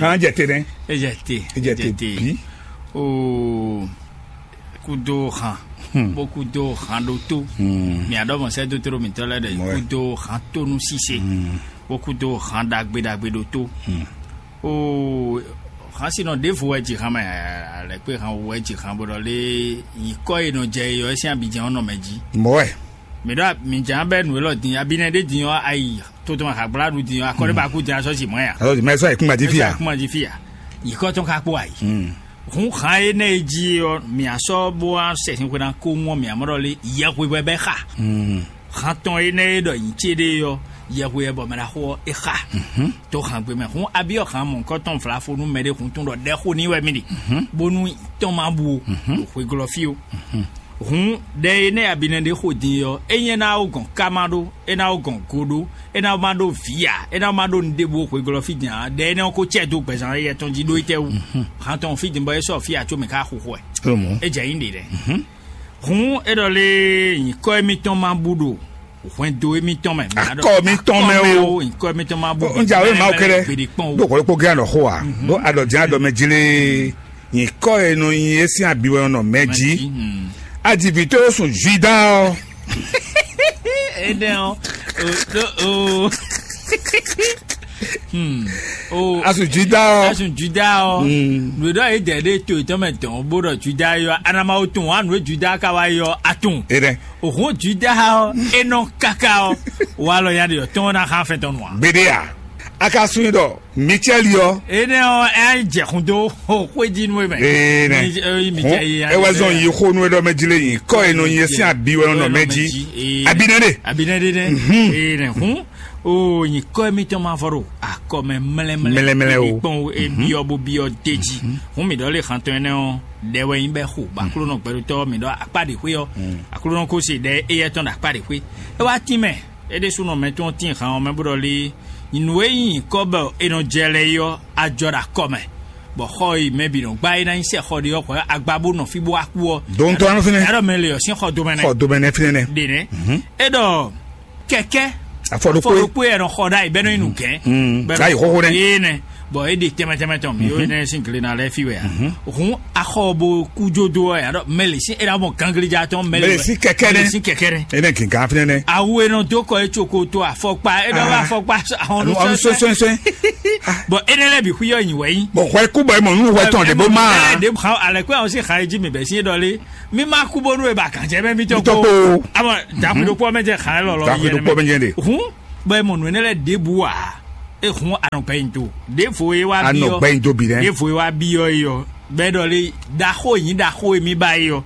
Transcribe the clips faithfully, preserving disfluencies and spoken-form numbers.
Kan jɛ te nɛ. Ejɛ te. Ejɛ te bi. Oo, kudo han. Bó kudo han ɖo tó. Mia ɖɔ mɔ sɛ dotoro mitɔ lɛ ɖe. Kudo han tónu sise. Bó kudo han ɖagbe ɖagbe ɖo tó. Oo, han sinɔ ɖevo wɛ ji han mɛ. Alɛkpe han wɛ ji han bó ɖɔ lé. Nyikɔ e nɔ jɛ yɔ esi abidjan ɔnɔ mɛ ji. Mɔɛ. Mi ɖɔ mi dza bɛ nu elɔ din abinɛ ɖe din ɔ ayi totoma hagbla ɖu din ɔ akɔɖe ba ku din asɔ si mɔ ya. Alɔ mɛ sɔ ekun gbaji fi ya. Kuma ji fi ya. Yikɔ tɔn ka kpó ayi. Hun xan e nɛ e ji ɔ mi asɔ bo a sɛ sin xwena ko ŋɔ mi amɔ ɖɔ le yɛhwe wɛ bɛ xa. Han tɔn e nɛ e ɖɔ yin ce ɖe ɔ yɛhwe wɛ bɔ mɛ ɖa xo ɔ e xa. To han gbe mɛ hun abi ɔ han mɔ nkɔ tɔn vlafo nu mɛ ɖe hun tun ɖɔ ɖɛ xo ni wɛ mi ɖi. Bonu tɔn ma bu o. Xwe glɔ fi o. Hǔn, ɖɛ e nɛ́ abinɛ ɖé xo din é ɔ́, é nyí é ná ó gɔn kámá ɖó, é ná ó gɔn go ɖó, é ná ó má ɖó vǐ ǎ, é ná ó má ɖó nǔɖébu xwegɔ́ fí din ǎ. Ɖɛ énɛ́ ɔ́ ko cɛ dó gbɛzán éyɛ́ tɔn jí ɖó étɛ́ wú? Hǎn tɔn fí din bɔ é sɔ́ fí ǎ có mɛ ká xo xɔ ɛ. É jɛ nyí ɖě lɛ́ɛ. Hǔn é ɖɔ lé nyǐkɔ émítɔn má bú ɖo hwɛndo émítɔn mɛ. Akɔ mítɔn mɛ o. Nyǐkɔ émítɔn má bú. Ń jà wé màá kéré. Gbèdékpɔn o. Ɖo kɔlɔkpɔ gé ànɔ xó a. Ɖo àdɔ̀dín àdɔ̀mɛjilé. Nyǐkɔ e nɔ nyi é sín abi wɛ nɔ mɛ jí. Adivitó sun Juda ɔ́. Énɛ́ ɔ́, o ɖó o. Hmm. O Asu Juda ɔ́. Asu Juda ɔ́. Nǔɖɔ yě dɛ ɖé to yětɔn mɛ dɔn bó ɖɔ Juda yɔ anamawo tun wa nǔ Juda ka wa yɔ atun. Énɛ́. Òhun Juda ɔ́, é nɔ káká ɔ́, wa lɔ ya ɖe yɔ tɔn na xá fɛn tɔn nua. Gbeɖe a. A ka sun ɖɔ Micɛli ɔ́. Énɛ́ ɔ́, é jɛ xun dó xwéjínú e mɛ. Ee nɛ. Hɔn, é wɛ zɔn yi xó nú é ɖɔ mɛ jí lé nyi kɔ e nɔ nyi é sín abi wɛ nɔ mɛ jí. Abi nɛ ɖe. Abi nɛ ɖe nɛ. Ee nɛ. Hɔn, o nyi kɔ e mitɔn ma vɔ ɖo akɔ mɛ mlɛmlɛ. Mlɛmlɛ o. Kpɔn e biɔ bo biɔ de jí. Hɔn mi ɖɔ lé xantɔn ɛnɛ ɔ́, ɖɛ wɛ nyi bɛ xo. Ba Aklúnɔ gbɛɖotɔ mi ɖɔ akpa ɖe xwé ɔ́. Aklúnɔ ko se ɖɛ éyɛ́ tɔn ɖo akpa ɖe xwé. É wá tín mɛ. É ɖésúnɔ mɛ tɔn tín han ɔ́ mɛ bó ɖɔ lé nǔ e nyí nyǐkɔ bɔ è nɔ jɛ lɛ é ɔ́, a jɔ ɖo akɔ mɛ, bɔ xɔ e mɛ bǐ nɔ gbá é ná nyí sɛ xɔ ɖé ɔ́, xɔ agba bó nɔ fí bó wá kú ɔ́. Dɔn tɔn fɛnɛ. Ɛɖɔ mɛ le ɔ́ sín xɔ domɛ nɛ. Xɔ domɛ nɛ fɛnɛ nɛ. Ɖe nɛ. É ɖɔ kɛkɛ. Afɔ ɖokpó. Afɔ ɖokpó yɛ nɔ xɔ ɖ'ayǐ bɛnɔ inú gɛn. Bɛnɔ ayi xɔxɔ nɛ. Yé nɛ. Bɔn é ɖe tɛmɛ tɛmɛ tɔn mi yó nɛ sín glená lɛ fi wɛ a. Hǔn axɔ bo kú jódó ɔ́ yà ɖɔ mɛ lè sín é ná mɔ ganglija tɔn mɛ lè. Mɛ lè sín kɛkɛ nɛ. Mɛ lè sín kɛkɛ nɛ. É nɛ gǐgán fínɛ́ nɛ. Awu e nɔ dó kɔ é tso ko to afɔkpa é nɔ wá afɔkpa ahɔn Ɔnu sɔsɔɛ. Sɔsɔɛ. Bɔn é nɛ lɛ bi xuyɔ nyi wɛ yí. Bɔn hwɛ kú bɔ é mɔ nú hwɛ tɔn ɖě bó má. Ɖě hàn alɛkpɛ àwọn sí xan é jí mi bɛ sín é ɖɔ lé mi má kú bónú é ba kàn jẹ́ mɛ mi tɔn Mitɔ kó. Kó. Amɔ dàkúndó kpɔ mɛ jẹ xan é lɔlɔ Dàkúndó kpɔ mɛ jẹ de. Hǔn bɔ é mɔ nǔ énɛ́ lɛ́ɛ ɖěbǔ ǎ. É hǔn a nɔ gbɛ́ nyi do. Ɖěvo e wá A byɔ́. Nɔ gbɛ́ nyi do bǐ nɛ́. Ɖěvo e wá byɔ́ é ɔ́, bɔ é ɖɔ lé ɖaxó nyǐ ɖaxó e mì ba é ɔ́,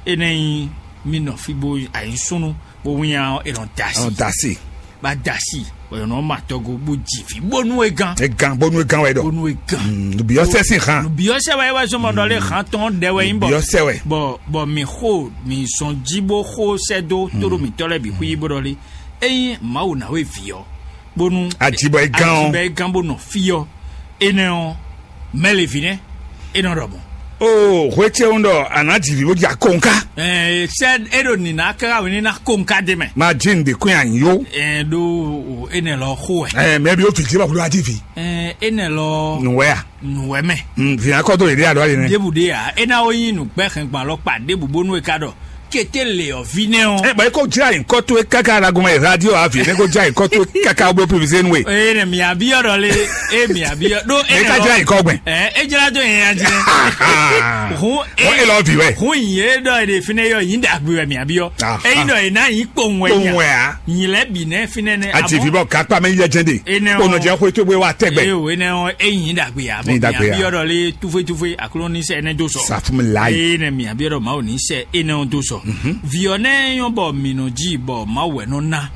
é nɛ́ nyí mì nɔ fí bó ayǐsúnú bó wínnyá ɔ́, è nɔ da A nɔ asi. Da asi. Bá da asi, bɔ è nɔ ma tɔgo bó ji vǐ bónú é gán. É gán bónú é gán wɛ ɖɔ. Bónú é gán. Nùbíyɔ́sẹ́ sì hàn. Nùbíyɔ́sẹ́ wɛ é wá zɔmɔ ɖɔ lé hàn tɔn ɖɛ wɛ nyí bɔ. Nùbíyɔ́sẹ́ wɛ. Bɔ bɔ mì xo mì zɔn jí bó xó sɛ́ dó tóɖó mìtɔ́ lɛ́ɛ bǐ xwí bó ɖɔ lé. Ényí Mawu ná wé vǐ ɔ́, bónú Ajibɔ é gán ɔ́. Ajibɔ é gán bó nɔ fí ɔ́, énɛ́ ɔ́, mɛ lě vǐ nɛ́ é nɔ ɖɔ mɔ̌. O hwecɛwun ɖɔ a nǎ ji vǐ bó ja kɔnká. Ɛɛ sɛ é ɖo nǐná káká wě ní ná kɔnká dé mɛ. Ma jí ŋɖe kún anyi yó. Ɛɛ ɖó énɛ́ lɔ xó wɛ. Ɛɛ mɛ bí ó fi jí ma kúló ají vi. Ɛɛ énɛ́ lɔ Nùwẹ́ à. Nùwẹ́ mɛ. Vǐ akɔ tó lè dé àlọ́ yìí nɛ. Débù dé à é ná ó nyí nǔgbɛ́ hɛn gbɔn alɔ kpa débù bónú é ká ɖɔ kété lè ɔ̀ví nɛ́ ɔ́. Ɛ bɔ é kó jlá nyǐkɔ tó é káká alagun mɛ radio avi é kó jlá nyǐkɔ tó é káká bó pivise nú é. Eye nɛ mia bi ɔdɔ le e mia bi ɔ ɖo Ɛ ká jlá nyǐkɔ gbɛn. Ɛ é jlá tó yẹn ya jí nɛ. Hun Wọ́n é lọ bì wẹ̀. Hun yìí é dɔ èdè fi ne yɔ yìí dàgbé wẹ̀ mia bi ɔ. Ah, Eyi ah. Dɔ yìí ná yìí kpowun wẹ̀ Kpowun yà. Wẹ̀ a. Yìí lɛ bì nɛ fi nɛ nɛ. Àti fi bɔ kápá mi yẹ jẹ́ de. Enɛ Kó nɔ ɔ. Jẹ́ kó tó bó wa tẹ́gbẹ́. Eye o enɛ ɔ eyi dàgbé yà. Ni dàgbé yà. Mia bi ɔdɔ le tufe tufe aklonise ɛnɛ do sɔ. Sàfúnmi láàyè. Eye nɛ mia bi ɔdɔ mawu ni sɛ enɛ ɔ do sɔ. Viɔ nɛ yɔ bɔ mi nɔ ji bɔ mawu wɛ nɔ na.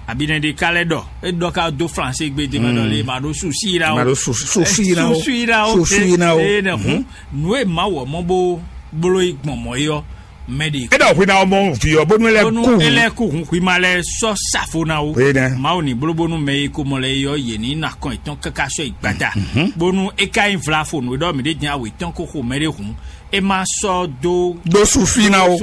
Abi nɛ de ka lɛ dɔ e dɔ ka do flanse gbe de mɛ dɔ le ma do susi la o. Ma do su- susi la o. Susi la o. Susi la o. Eye nɛ hun nu e ma wɔ mɔ bo blo yi gbɔn mɔ yi ɔ. Mɛ ɖe é ɖɔ hwi ná mɔ vǐ ɔ́ bónú é lɛ́ bónú kú é hǔn. Lɛ́ kú hun xwima lɛ́ sɔ́ safo ná wo. Énɛ́. Mawu ní bló bónú mɛ e ko mɔ lɛ é ɔ́, yě ní ná kɔn yětɔn káká sɔ́ yi gbada. Bónú é ka nyí vlafo nǔ e ɖɔ mǐ ɖe dín awe tɔn ko xo mɛ ɖé hǔn, é má sɔ́ dó Ɖó sufi ná o.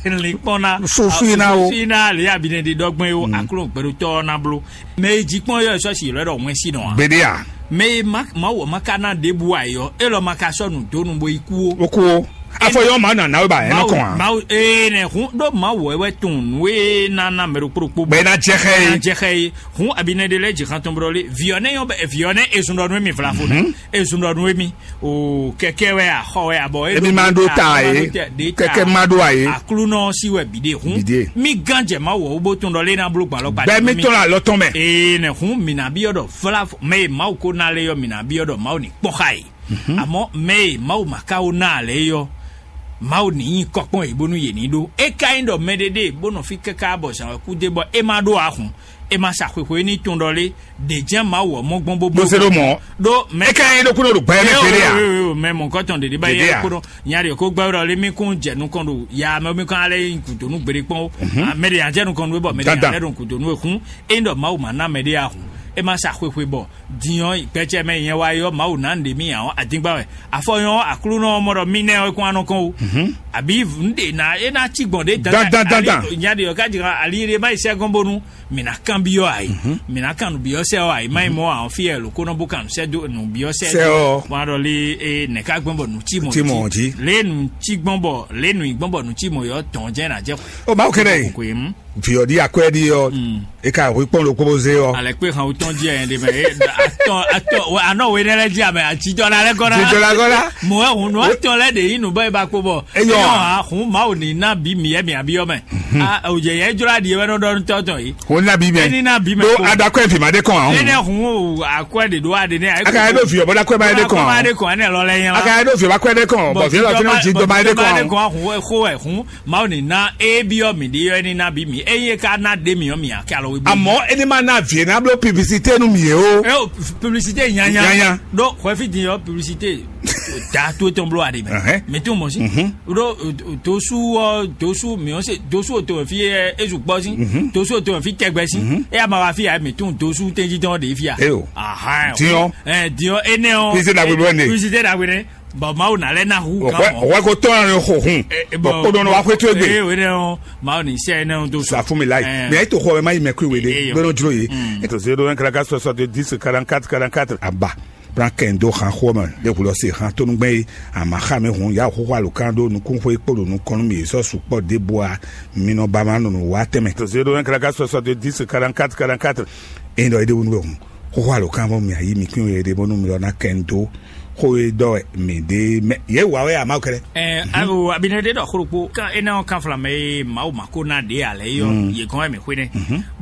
Linkpɔn ná Sufi ná o. Sufi ná lě abinɛ ɖe ɖɔgbɛn o. Akló gbɛɖotɔ́ ɔ́ ná bló. Mɛ e jí kpɔ́n yɔ sɔ́ si lɔ́ ɖɔ wɛn sí nɔ a? Gbeɖé a? Mɛ e má Mawu ɔ́ má ka ná ɖěbǔ ayɔ, é lɔ ma ka sɔ́ nǔ dó nú bo yi kú o. Ó kú o. Afɔ yɔ́ ma nɔ anáwé ba ɛ nɔ kɔn a? Mawu ee nɛ hun ɖó Mawu wɛ wɛ tun nǔ e ná ná mɛ ɖokpó ɖokpó Bɛ ná jɛ xɛ na e. Jɛ xɛ ye. Hun abinɛ ɖe lɛ dzi xan tɔn bɔ lé viɔ nɛ yɔ bɛ viɔ nɛ ezun ɖɔ nú mi vlafo nɛ. Ezun ɖɔ nú mi. O kɛkɛ wɛ a xɔ wɛ a bɔ Emi ma ɖo ta e. Kɛkɛ ma ɖo a ye. Aklunɔ si wɛ bi de hun. Bi de. Mi gan jɛ Mawu wɔ wo bo tun ɖɔ lé na blo gbalɔ gba. Bɛ mi tɔn la lɔ tɔn mɛ. Ee nɛ hun mi na bi yɔ ɖɔ vlafo mɛ e Mawu ko na lé yɔ mi na bi yɔ ɖɔ Mawu ni kpɔn xa ye. Amɔ̌ mɛ e Mawu ma ka wó ná ǎ lɛ́ɛ é ɔ́, Mawu ní nyí kɔkpɔ́n yě bónú yě ní ɖó. É ka nyí ɖɔ mɛɖé ɖe bó nɔ fí káká bɔ zǎn wɛ kú dé bɔ é ma ɖó ahun, é ma sa xwexwe ní tun ɖɔ lé, ɖě jɛ́n Mawu ɔ́ mɔ gbɔn bó Bó se ɖó mɔ̌. Ɖó mɛ É ka nyí ɖokúnɔ ɖo gbɛ mɛ kpéɖé a? Mɛ mɔ̌kɔtɔn ɖě ɖíbá Ɖěɖě yɛ a? Kó ɖɔ nya ɖě kó gbɛ́ ɖɔ lé mí kún jɛ nukɔn ɖo ya mɛ mí kán lɛ́ nyi gǔdo nú gbeɖé kpɔ́n ó. Mɛ ɖě nya jɛ nukɔn nú é bɔ mɛ ɖě nya Dandan. Lɛ́ ɖo gǔdo nú é hún. É nyí ɖɔ Mawu ma ná mɛɖé ahun, é ma sa xwexwe bɔ din ɔ́, gbɛcɛ mɛ nyɛ wá yi ɔ́, Mawu ná nǔɖé mì ǎ ɔ́, adingba wɛ. Afɔ nyɔ ɔ́, Aklúnɔ ɔ́ mɔ ɖɔ mì nɛ́ ɔ́ é kún wá nɔ kɔn ó. Àbí nǔɖé ná é ná cí gbɔn ɖě Dandan, dandan, ali- dandan. Nya ɖe ɔ́ ká jɛ ali ɖé má yi sɛ́ gɔ́n bónú mǐ ná kanbyɔ́ ǎ é. Mǐ ná kan nǔbyɔ́sɛ ɔ́ ǎ é má nyí mɔ ǎ ɔ́ fí wɛ lǒ kó nɔ bó kan nǔsɛ́ dó nǔbyɔ́sɛ Sɛ ɔ́. Wọ́n á ɖɔ lé é nɛ̌ ká gbɔn bɔ nǔ cí mɔ Cí mɔ jí. Lě nǔ cí gbɔn bɔ lě nǔ nyí gbɔn bɔ nǔ cí mɔ yɔ tɔn jẹ́ ná jẹ́ Ó Mawu kɛ́ɖɛ́ yi. Kò yé mú. Viɔɖi akwɛɖi ɔ́, e ka hwe kpɔn ɖokpó bó zé ɔ́. Alɛ kpé han wutɔn jí ɛyɛ ɖe mɛ. Atɔ atɔ anɔ wo enɛ lɛ jí amɛ atijɔ la lɛ gɔna. Jijɔ la gɔna. Mɔ ɛ hun nɔ atɔ lɛ de yi nu bɔ e ba kpo bɔ. Eyɔ. Eyɔ ha hun Mawu ni na bi mi yɛ mi abi yɔ mɛ. A o jɛ yɛ jɔ la di yɛ wɛ nɔ dɔ tɔ tɔ yi. Wo na bi mɛ. Eni na bi mɛ Ɖo ko. Adakɔ evi ma ɖe kɔn ahun. Ene hun o akwɛ de do ade ne. Aka yɛ ɖo viɔ bɔ dakɔ ma yɛ ɖe kɔn ahun. Ade kɔn ene lɔ lɛ yɛn la. Aka yɛ ɖo viɔ ba kɔ yɛ ɖe kɔn. Bɔ viɔ la fi na ji dɔ ma yɛ ɖe kɔn ahun. Ahun e xo ɛ hun. Mawu ni na e bi ɔ mi de yɔ eni na bi mi eye ka na de mi ɔ mi a kɛ alɔ we bi. Àmọ́ ẹni máa ná àvì ẹ̀ náà blo publicité nu mi yẹ o. Ẹ o publicité yanyan. Yanyan. Ɖo xɔɛfi din yɔ publicité da to etɔn blo ade mɛ. Ɛhɛn. Mi tún mɔ si. Mhm. Ɖo tosu ɔ tosu mi ɔ se tosu o to fi ɛ ezu gbɔ si. Mhm. Tosu o to fi tɛgbɛ si. Mhm. E ama wa fi ya mi tún tosu tɛnji tɔn de fi ya. Eyo. Ahan. Diɔ. Ɛ diɔ ene ɔ. Publicité dagbe blo ne. Publicité dagbe ne. Bɔn Mawu na lɛ na hu kan Ɔwɛ mɔ. Ɔwɛ ko tɔn yɛrɛ xɔ hun. Ɛ, ɛ, Bɔn bɔn, kpɔdɔn wa xwe to egbe. Ee, wene ɔ, Mawu ni sɛ ne ɔ do Sa fún mi láì. Ɛ. Mɛ ètò xɔ ɛ má yi mɛ kú ìwé dé. Eyɔ. Gbɛnɔ jlo ye. Mm. Ètò zéro un kàràkà soixante dix quarante quatre quarante quatre. Aba. Bran kɛn do xan xɔ mɛ. Lè wulɔ se xan tónúgbɛn ye. Àmà xa mi hun ya xóxó alo kan ɖó nukún xó ekpó ɖo nukɔn nú mi yě sɔ́ sukpɔ́ ɖěbǔ a. Mi nɔ ba ma nunu wá tɛmɛ. Ètò zéro un kàràkà soixante dix quarante quatre quarante quatre. Eyín ɖɔ é ɖé wúnú wɛ hun. Xóxó alo kan bɔ mi ayi mi kpín yɛ ɖe bónú mi lɔ ná kɛ ń dó xó e ɖɔ wɛ mi ɖe mɛ yě wa wɛ a ma kɛlɛ. Ɛ alo abinɛ ɖe ɖɔ xlokpo kan ene ɔ kan flamɛ ye Mawu ma ko na ɖe alɛ yɔ ye gɔn wɛ mi xwe nɛ.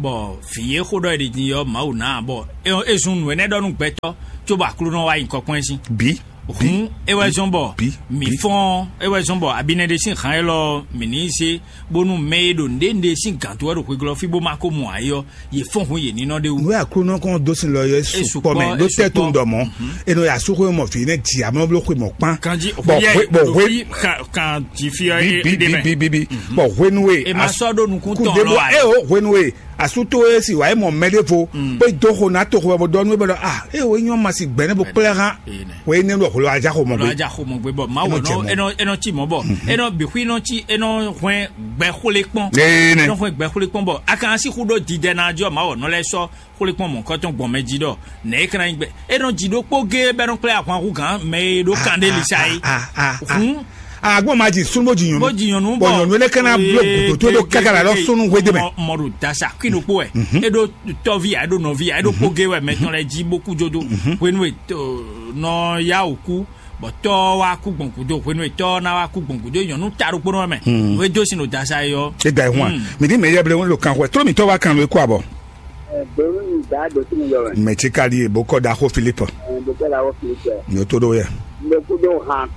Bɔn fi ye xó ɖɔ yi din yɔ Mawu na bɔ e zun nu enɛ ɖɔ nu gbɛtɔ tso bɔ aklo nɔ wa yi kɔkpɔn si. Bi hun e wɛ zɔn bɔ Bi, mi bi. Fɔn e wɛ zɔn bɔ abinɛ ɖe sin han elɔ mi ni se bónú mɛ e ɖo nɖe nɖe sin gantɔ wɛ ɖo xweglɔ fi bó ma ko mɔ ayɔ ye fɔn hun ye ninɔ ɖe wu. Nú Aklúnɔ kɔn dó sin lɔ yɔ é sukpɔ mɛ ɖó tɛ́ tó ŋdɔ mɔ. Enɔ yà súxó mɔ fǐ nɛ dzi amlɔ bló xwe mɔ kpán. Kanji Bɔ hwe- bɔ hwe- kan ji fi ɔ Bi- bi- de bi- mɛ. Bi- bi- bi- bɔ hwenu e E ma as- sɔ ɖo nukun kú tɔn dé lɔ bɔ ayi. E o hwenu e asútó e si wà é mɔ mɛ ɖé vo pé dó xo ná tó xo bɔ dɔnu e bɔ dɔ ah e o nyɔ ma si gbɛ ne bo kplɛ hã. Ee nɛ. Wɛ ne ɖɔ xolo aja xo mɔ Lɔ gbe. Adza xo mɔ gbe bɔ mawu Enɔ jɛ nɔ mɔ. Enɔ enɔ tsi mɔ bɔ enɔ bixu enɔ tsi enɔ hwɛn gbɛ xwle kpɔn. Ee nɛ. Enɔ hwɛn gbɛ xwle kpɔn bɔ akan si xu ɖo didɛ na jɔ mawu nɔ lɛ sɔ xwle kpɔn mɔ kɔtɔn gbɔn mɛ ji ɖɔ nɛ e kana nyi gbɛ enɔ dzi ɖokpó gé bɛ nɔ kplɛ ahwan hu gan mɛ e ɖo kan ɖe lisa yi. Ah, ah, ah. Hun Agbɔn ma dzi sunu bó dzi nyɔnu. Bó dzi nyɔnu Bɔn bɔ nyɔnu ele kana blo gudo to do kaka la lɔ sunu hwe de mɛ. Mɔ ɖo dasa kui ɖokpó ɛ e ɖo tɔvi ya e ɖo nɔvi ya e ɖo kpó gé wɛ mɛ tɔn lɛ dzi bó kú jodo hwenu e nɔ ya o kú bɔ tɔ wa kú gbɔn gudo hwenu e tɔ na wa kú gbɔn gudo nyɔnu ta ɖokpó nɔ mɛ o e do sin ɖo dasa yi yɔ. E da ehun a mi di mɛ yɛ ble ŋun lo kan xɔ tro mi tɔ wa kan lo e kó abɔ. Bɛrù ni da do sin yɔ mɛ. Mɛ tsi ka di e bó kɔ da xo Filipu. Bó kɔ da xo Filipu. Ni o to ɖo yɛ. Mɛ kú ɖo hàn.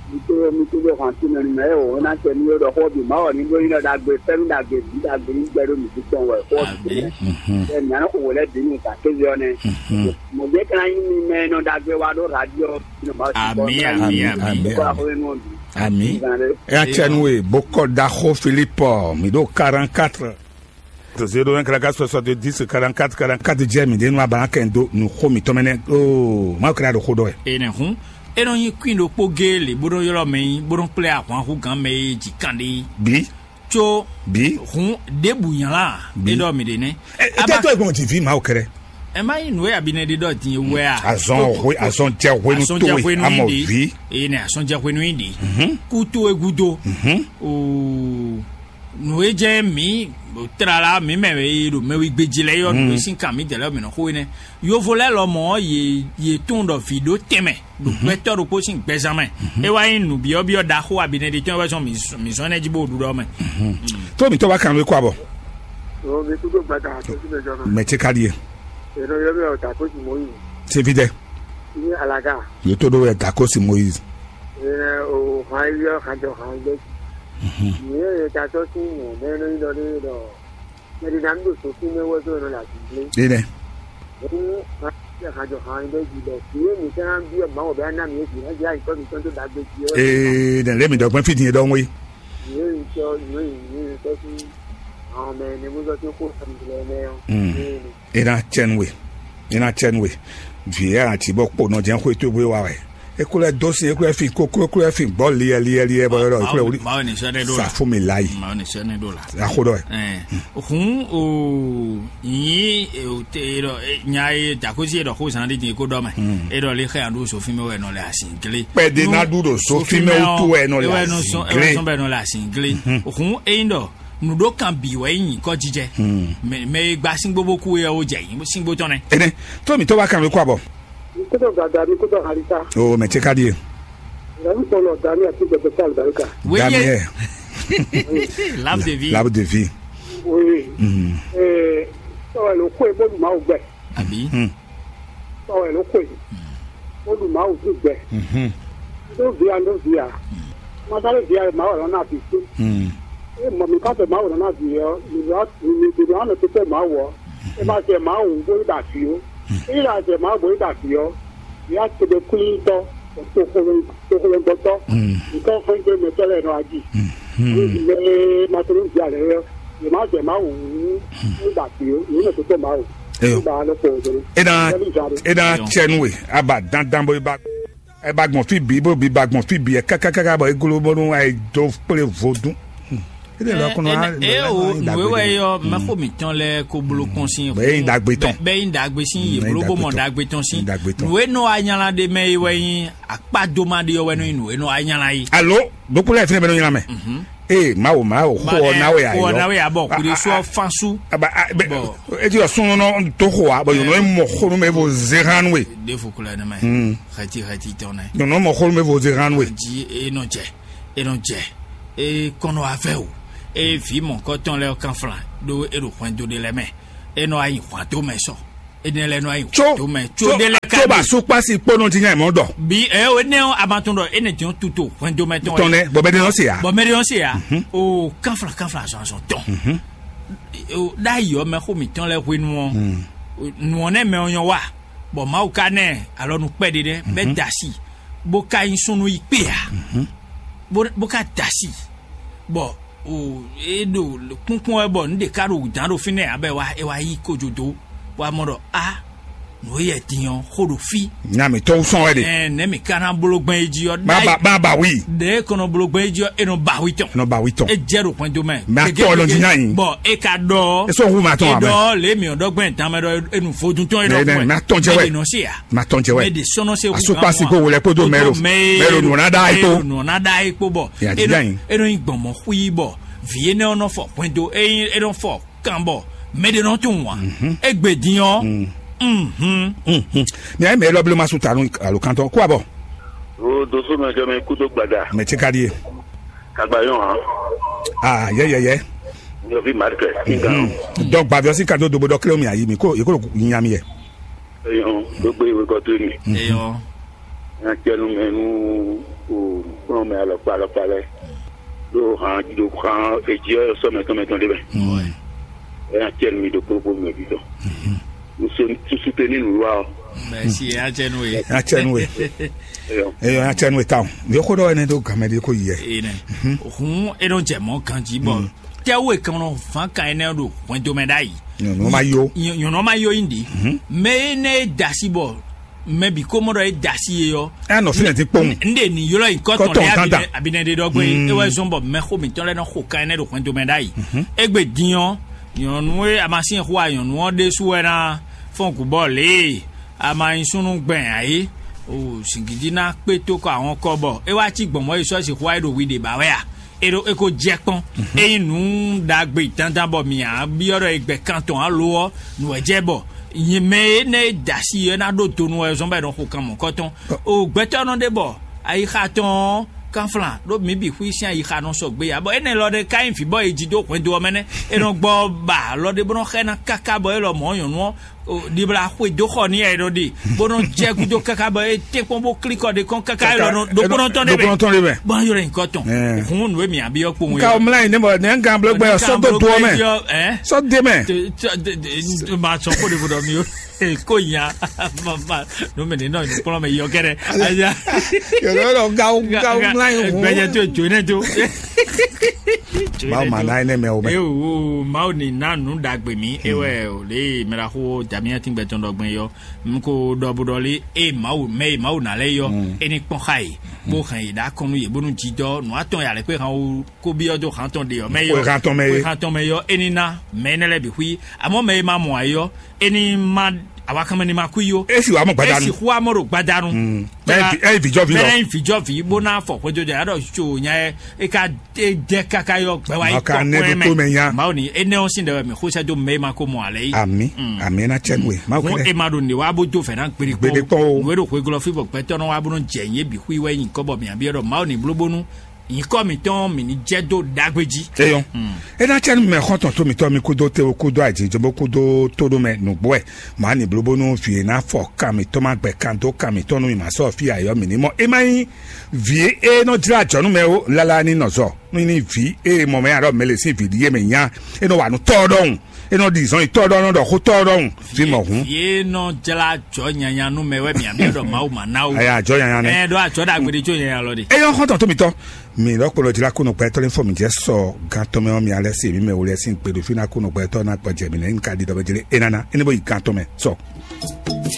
Mito mito ɖo hàn tí mɛ mɛ o na tɛ ní yóò ɖɔ xɔ bi ma wɔ ní ɖó yín ɖɔ dagbe fɛn dagbe bí dagbe ní gbɛ ɖó mi tɔn wɛ xɔ bi ɛ mɛ anɔ kò wòlɛ bí nu ka kéze ɔ nɛ. Mo dé kana yín mi mɛ nɔ dagbe wa ɖó radio. Ami ami ami. Kó a xɔ yín nɔ bi. Ami. Ecɛnuwe bokɔ daxo Filipo, mi ɖo quarante-quatre. Zéro un quarante-quatre soixante-dix quarante-quatre quarante-quatre jɛ mi ɖe nu abana kɛn do nu xo mi tɔmɛ nɛ. Oo, ma kra ɖo xo ɖɔ wɛ. Enɛ hun, e nɔ nyi kwin ɖokpó géé lě bó nɔ ylɔ́ mɛ nyi bó nɔ kplé ahwan hú gǎn mɛ e ji kan ɖe. Bi. Có bi. Hun ɖěbǔ nylá. Bi. E ɖɔ mi ɖe nɛ. Ete to egbɔn ti vi ma o kɛrɛ. Ɛ má nyí nǔ e abinɛ ɖe ɖɔ din wɛ a? Azɔn hwe azɔn jɛ hwenu to e amɔ vi. Eye nɛ azɔn jɛ hwenu yi ɖi. Kú to e gúdo. Oo, nǔ e jɛ mǐ tlala mǐ mɛ e ɖo mɛwigbeji lɛ́ɛ yɔ nǔ e sín kan mǐ dɛ lɛ́ɛ mǐ nɔ xó énɛ́. Yovo lɛ́ɛ lɔmɔ̌ yě yě tunwun ɖɔ vǐ ɖó tɛnmɛ ɖo gbɛtɔ́ ɖokpó sín gbɛzán mɛ. É wá nyí nǔbyɔ́byɔ́ ɖaxó abinɛ ɖe tɔn wɛ zɔn mǐ zɔn ɛnɛ jí bó ɖu ɖɔ mɛ. Tó mǐtɔn wá kan nú kó abɔ. Ɔɔ, mi kúdó gbada tó sí mɛ jɔ náà. Mɛ tse ka ɖie. Ènɔ yɔ bí ọ̀dà kó sì mọ́ yìí. Tse fi dɛ. Ní alaga. Yóò tó ɖó wɛ dà kó sì Moyiz. Ìyẹn o hàn yọ hàn jọ hàn yọ. Ìyẹn yẹ ta tọ́ sí mọ̀ mẹ́rin ní lọ ní lọ. Mẹ́rin náà ń dò sókún mẹ́wọ́ tó lọ là sí ilé. Dé dɛ. Ní hàn yọ hàn jọ hàn yọ jì lọ. Ìyẹn mi sẹ́nà bí ọ̀gbọ́n wọ̀ bẹ́ẹ̀ náà mi yẹ jì náà jẹ́ àyíkọ́ mi tọ́ tó dàgbé jì ọ́. Ee, dɛ lé mi dɔgbɛn fi din dɔn wé. Ìyẹn ìtọ́ ìyẹn ìyẹn ìtọ́ sí àwọn ọmọ ẹni mú sọ tí ó kó sọ̀rọ̀ ìdílé ẹni ẹ̀ ọ́. Mm. Ina tsɛn we, ina tsɛn we. Vǐ ɛ ati bɔ kpo nɔ jɛn xwe towe wa wɛ. Ekulɛ dó sin ekulɛ fin koklo ekulɛ fin gbɔ liɛ liɛ liɛ bɔ yɔrɔ ekulɛ wuli. Mawu ni sɛnɛ ɖo la. Sa fún mi la yi. Mawu ni sɛnɛ ɖo la. Axo ɖɔ ɛ. Ɛn, hun o nyi e o te e ɖɔ e, nya e dakosi e ɖɔ ko zan ɖe din ko ɖɔ mɛ. E ɖɔ le xɛ yan ɖo sofin mɛ wɛ nɔ le asin gle. Kpɛɖe na ɖu ɖo sofin mɛ wutu wɛ nɔ le asin gle. Sɔn bɛ nɔ le asin gle. Hun eyin ɖɔ nuɖokan bǐ wɛ nyi nyǐkɔ jijɛ. Mɛ mɛ e gba síngbó bó kú é ɔ́ ó jɛ nyǐ síngbó tɔn nɛ́. Ene, tó mi tó wá kan mi kó abɔ. Kótó gàdá mi kótó halisa. O mɛ tse ka die. Ìyàwó sọlọ dani àti gbẹgbẹ sí àlùbáríkà. Wéyé. Daniel. Lab de vie. Lab de vie. Oui. Ee, sọ̀rọ̀ ló kó ebó lùmọ̀ àwùgbẹ. Àbí. Sɔwɛ ló xwe. Ó ɖu Mawu sín gbɛ. Ɖó vǐ a ɖó vǐ a. Mɔtálí vǐ a Mawu lɔ́ ná vǐ sí. É mɔ mǐ ká fɛ Mawu lɔ́ ná vǐ ɔ́, mǐ ɖó mǐ ɖó ná nɔ tɛ́ Mawu ɔ́. É ma jɛ Mawu bó yi ɖo avǐ ó. É yi ɖo azɛ Mawu bó yi ɖo avǐ ɔ́, vǐ a tebe kwlítɔ́, toxológbɔtɔ́, nǔkɔn xwé dó mɛtɔ́ lɛ́ɛ nɔ ají. Ní mɛ ma tó ní vǐ a lɛ́ɛ ɔ́, yě má jɛ Mawu wú ní ɖo avǐ ó, yě nɔ tɛ́ Mawu. Eyo. Ba lɔ kpɔ dɔrɔn. Ena ena tsɛnu we aba dandan bo ba e ba gbɔn fi bi bo bi ba gbɔn fi bi e kaka kaka bɔ e glo bɔnu e do kple vodun. Ede lɔ kɔnɔ a e o nue wɛ yɔ mɛxo mitɔn lɛ ko blo kɔn sin bɛ yin dagbe tɔn bɛ yin dagbe sin ye blo bo mɔ dagbe tɔn sin dagbe tɔn nue nɔ anyala de mɛ yi wɛ yin akpa do ma de yɔ wɛ nɔ yin nue nɔ anyala yi. Alo, dokpolo yɛ fɛnɛ bɛ nɔ nyina mɛ. Ee, Mawu, Mawu, xo ɔ nawe ayɔ. Xo ɔ nawe abɔ, kuɖe sɔ fansu. Aba, a, bɛ, eti ɔ sunnu nɔ to xo a, bɔ yɔnɔ mɔ xonu mɛ vo zehan we. De fo kula ne mɛ. Xɛti xɛti tɔn nɛ. Yɔnɔ mɔ xonu mɛ vo zehan we. Ji e nɔ jɛ, e nɔ jɛ, e kɔnɔ afɛ o, e vi mɔ kɔtɔn lɛ kan flan, do e ɖo hwɛndo de lɛ mɛ, e nɔ ayi hwan to mɛ sɔ. Ene lɛ nɔ ayi tso to mɛ tso de lɛ ka tso ba su kpasi kpɔnɔ ti nya mɔ dɔ. Bi ɛ o ne o a ma tún dɔ ene tiɲɔ tu to hwɛn do mɛ tɔn tɔn nɛ bɔbɛ de nɔ se ya. Bɔn mɛ de nɔ se ya. O kanfla kanfla azɔn azɔn tɔn. O da yi ɔ mɛ xo mi tɔn lɛ hwenu ɔ. Nuɔ ne mɛ ɔ nyɔ wa bɔn mawu ka nɛ alɔ nu kpɛ de dɛ bɛ da si bo ka yin sunu yi kpe ya. Bo bo ka da si bɔ o e ɖo kpɔnkpɔn wɛ bɔ nu de ka ɖo dan ɖo fínɛ́ abɛ wa e wa yi kojodo wa mɔ ɖɔ a nǔ e yɛ din ɔ́ xo ɖo fí. Nya mǐtɔn sɔn wɛ ɖe. Ɛɛ nɛ mǐ ka ná bló gbɛn é jí ɔ́. Má ba má ba wí. Ɖe e kɔnɔ bló gbɛn é jí ɔ́ e nɔ ba wí tɔn. Nɔ ba wí tɔn. E jɛ ɖo pɔn do mɛ. Mɛ atɔ lɔ jí ná yín. Bɔn e ka ɖɔ. E sɔ hu ma tɔn abɛ. E ɖɔ lè mi ɔdɔ gbɛn tán mɛ ɖɔ e nu vodun tɔn e ɖɔ gbɛn. Mɛ atɔ jɛ wɛ. Mɛ de nɔ se ya. Mɛ atɔ jɛ wɛ. Mɛ de sɔnɔ se hu. Asukpasi ko wòlɛ kpódó mɛro mɛro nùnà dá yìí kpó. Nùnà dá yìí kpó bɔ. Yàtí dá yìí. E nɔ yin gbɔn mɔ xú yìí bɔ. Vǐ énɛ́ ɔ́ nɔ fɔ hwɛndo ényí é nɔ fɔ kan bɔ mɛ ɖé nɔ tunwun ǎ. Égbé din ɔ́. Ní ayé mɛ élɔ́ bló ma sú ta nú alokantɔ kó abɔ. O doso mɛ kɛ mɛ kú tó gbada. Mɛ tse ka ɖie. Kagba yɔn hàn. Aa yɛ yɛ yɛ. Nyɔvi marikɛ. Dɔn gbaviɔ sí kadó dobo dɔ kíló mi ayi mi kó yìí kó nya mi yɛ. Eyɔn gbogbo ìwé kɔ tó mi. Eyɔn. Nya cɛnu mɛ nú o kplɔn mɛ alɔkpa alɔkpa lɛ. Ɖo hàn ɖo hàn edzi ɔ́ sɔ mɛtɔn mɛtɔn ɖé mɛ. Nya cɛnu mi ɖo kpókpó mɛ bí tɔn. Nso susu te ní nǔ wa ɔ. Mɛsi, atsɛnu ye. Atsɛnu ye. Eyɔ, atsɛnu ye tawun. Yɔ ko ɖɔ ɛnɛ ɖo gamɛ ɖi ko yɛ. Ene. Hun e nɔ jɛ mɔ ganji bɔ tɛwo e kan nɔ fan kan ɛnɛ ɖo hwɛndo mɛ ɖ'ayi. Nyɔnu ma yo. Nyɔnu ma yo yin di. Mɛ e nɛ e dasi bɔ mɛ bi ko mɔ ɖɔ e dasi ye yɔ. Ɛ nɔ fínɛ ti kpɔn. N de ni yɔlɔ yi kɔtɔn Kɔtɔn lɛ tanta. Abinɛ abinɛ de dɔgbe e wɛ zɔn bɔ mɛ xo mitɔn lɛ nɔ xo kan ɛnɛ ɖo hwɛndo mɛ ɖ'ayi. Egbe din ɔ, nyɔnu e amasin xo a nyɔnu ɔ ɖe su wɛ na fɔn gubɔ le ama nyi súnnu gbɛn ayé. O singidi ná kpé tó kɔ àwọn kɔ bɔ é wá cí gbɔn mɔ yi sɔ́ sixú wá yi ɖo wi ɖě ba wɛ a? É ɖo é ko jɛ kpɔn. Ényí nǔ ɖagbe dandan bɔ mǐ á byɔ́ ɖɔ è gbɛ kan tɔn alo ɔ́, nǔ wɛ jɛ bɔ mɛ énɛ́ e da asi é ná ɖó donu wɛ zɔ́n bɔ è nɔ xo kan mɔ̌kɔtɔn. O gbɛtɔ́ nɔ ɖe bɔ ayixa tɔn ɔ́ kanflan ɖó mǐ bǐ xwí sín ayixa nɔ sɔgbe ǎ, bɔ énɛ́ lɔ ɖé ka nyí vǐ bɔ è ji dó hwɛndo ɔ́ mɛ nɛ́. È nɔ gbɔ ba alɔ ɖé bó nɔ xá ɛ ná káká bɔ é lɔ mɔ̌ nyɔ̌nu ɔ́ ɖibla xwe dó xɔ n'i wɛ ɖɔ ɖi bó nɔ jɛ gúdo káká bɔ é tɛ́nkpɔ́n bó klí kɔ ɖe kɔn káká é lɔ nɔ ɖokpónɔ tɔn ɖé mɛ. Ɖokpónɔ tɔn ɖé mɛ. Bɔn yɔrɔ nyǐkɔ tɔn. Hǔn nǔ e mǐ abiyɔ kpowun ka o mlá yìí ne bɔ ne gán bló gbɛ sɔ́ dó do ɔ mɛ. Sɔ́ dé mɛ. Ma sɔn kó de vodɔ mi o. Kó nya. Nú mi ní nɔ nyɔ̌kplɔ́n mɛ yɔ kɛ́ɖɛ́. Aya. Yɔrɔ yɔrɔ gawo gawo mlá yìí hǔn. Gbɛjɛ tó jo ne tó. Mawu ma ná énɛ́ mɛ o mɛ. Ewo Mawu ni ná nǔ ɖagbe mì. Ewɛ o lě mɛ la xó damiatin gbɛtɔn ɖɔ gbɛn yɔ. N ko ɖɔ bo ɖɔ lé e Mawu mɛ e Mawu ná lɛ́ yɔ. É ní kpɔn xa yě bó hɛn yě ɖó akɔnnu yě bónú jijɔ nǔ atɔn yě alɛ kpé han wú kó byɔ́ dó han tɔn ɖe ɔ́ mɛ yɔ. Xwe han tɔn mɛ é. Xwe han tɔn mɛ yɔ é ní ná mɛ énɛ́ lɛ́ɛ bǐ xwí. Amɔ̌ mɛ e ma mɔ ayé ɔ́, é ní má awakanmɛ ní ma kú yó. É sì wá mɔ gbadanu. É sì xú amɔ ɖo gbadanu. Ɛ vijɔvi lɔ. Bɛlɛ vijɔvi bó ná fɔ xwéjɔjɔ yá ɖɔ tso nya yɛ é ka é jɛ káká yɔ gbɛ wá yi Maka tɔ ne kɔn ɖo tó mɛ nya. Mawu ni énɛ́ ɔ́ sín ɖɛ wɛ mɛ xó sɛ́ dó mɛ e ma ko mɔ alɛ yí. Ami ami na cɛ nue. Mawu Hɔn kɛnɛ. E ma ɖo nǐ wá bó dó fɛ̌ ná gbeɖe Gbeɖe kpɔn o. Nǔ e ɖo xwegɔ́ fí bɔ gbɛtɔ́ nɔ wá bó nɔ jɛ nyě bǐ xwí wɛ nyǐkɔ bɔ mǐ byɔ́ ɖɔ Mawu ní bló bónú nyǐkɔ mǐtɔn mǐ ní jɛ dó ɖagbe jí. Eyɔn. É ná cɛ nú mɛ xɔ́ntɔn tó mitɔn mi kúdó tewu kúdó ajinjɔnbó kúdó tóɖó mɛ nǔgbó wɛ. Mǎ nǐ bló bónú vǐ e ná fɔ kan mǐtɔn ma gbɛ kan dó kan mǐtɔn nú mi ma sɔ́ fí ayɔ́ mǐ ní mɔ. É má nyí vǐ e nɔ jlá ajɔ̌ nú mɛ ó lálá ní nɔ zɔ. Nú ní vǐ e mɔ mɛ alɔ mɛ lě sín vǐ ɖíe mɛ nya, é nɔ wa nú tɔ́ ɖɔhun, é nɔ ɖi zɔn yi tɔ́ ɖɔhun, nɔ ɖɔ xó tɔ́ ɖɔhun. Vǐ mɔ hǔn. Vǐ e nɔ jlá ajɔ̌ nyanya nú mɛ wɛ mǐ byɔ́ ɖɔ Mawu ma ná ó. Aya ajɔ̌ nyanya nɛ. Ɛ ɖó ajɔ̌ ɖagbe ɖé có nyanya lɔ ɖe. Eyɔn xɔ́ntɔn tó mitɔn. Mi lɔkplɔ jlá kó nɔ gbɛtɔ́ lé fɔ mi jɛ sɔ gan tɔn mɛ ɔ́ mi alɛ se mi mɛ wòlɛ sín gbeɖo fí ná kó nɔ gbɛtɔ́ ná gbɔjɛ mi nɛ ní ka ɖi ɖɔ bɛ jlé é nana é ní bó yi gan tɔn mɛ sɔ.